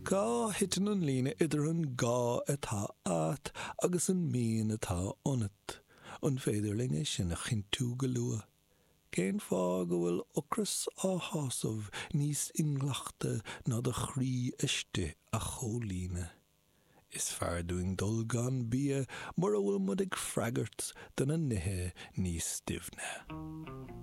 Cá thiteann an líne idir an gá atá a't agus an mian atá ionat? An féidir linn é sin a chinntiú go luath? Cén fáth go bhfuil ocras á shásamh níos inghlactha ná do chroí istigh a chomhlíonadh? Is fearr dúinn dul gan bia mura bhfuil muid ag freagairt do na nithe níos doimhne.